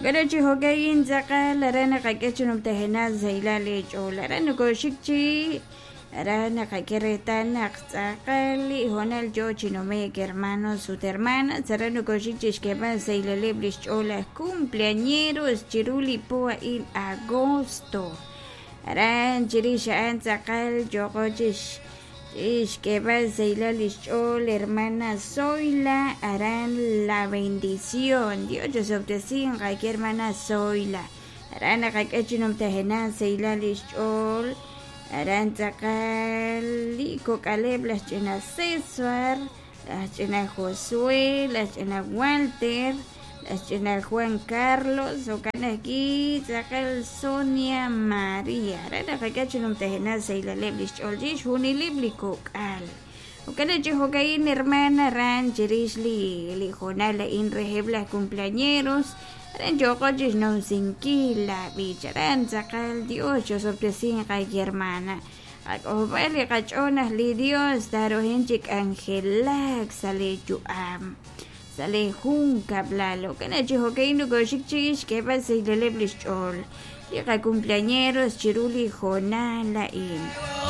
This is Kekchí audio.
Jo'kan chi jo'ka'in tz'aqal aran naqak'e chi numtajenaq sahilal eech'ool aran nokoxik chi aran naqak'e reetal naq tz'aqal li hoonal yoo chi nume'k hermanos ut hermanas aran nokoxik chi xk'eeb'al sahilaleb' li xch'ool aj cumpleañeros chiru li po a'in agosto aran chirix a'an tz'aqal yooqo chi xk'eeb'al sahilal li xch'ool hermana Zoila aran La Bendición. Dios chosob'tesinq aawe hermana Zoila. Aran naqak'e chi numtajenaq sahilal li xch'ool aran tz'aqal li kok'aleb' laj ch'ina César, laj ch'ina Josué, laj ch'ina Walter, laj ch'ina Juan Carlos, jo'kan ajwi' tz'aqal Sonia María. Aran naqak'e chi numtajenaq sahilaleb' li xch'ool chixjunileb' li kok'al. Jo'kan chi jo'ka'in hermana aran chirix li li hoonal a'in reheb' laj cumpleañeros aran yooqo chixnumsinkil la b'ich aran tz'aqal Dios chosob'tesinq aawe hermana. Qak'ojob'al li qach'ool naq li Dios taarohin chi k'anjelak sa' li yu'am sa' li junkab'lal. Jo'kan chi jo'ka'in nokoxik chi xk'eeb'al sahilaleb' li xch'ool li qacumpleañeros chiru li hoonal a'in.